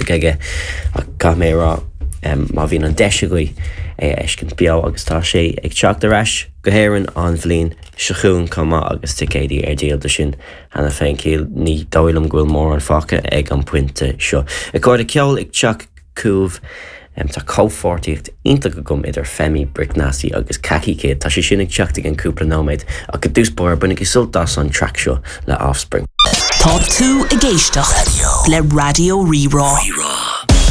iontach aige ach caithfidh mé a rá má bhíonn an deis agaibh é a fheiscint beo agus tá sé ag teacht ar ais go hÉirinn an bhliain seo chugainn chomh maith agus ticéidí ar díol do sin cheana féin cíl ní dóigh liom go bhfuil mórán fágtha ag an bpointe seo. A chairde ceol ag teacht chugaibh. Tá comhpháirtíocht iontach agam idir Femi, Brick Nasty agus Khaki Kid. Tá sé sin ag teacht i gceann cúpla nóiméad ach i dtús báire bainigí sult as an traic seo le Offspring. Tá tú ag éisteacht le Raidió Rí-Rá.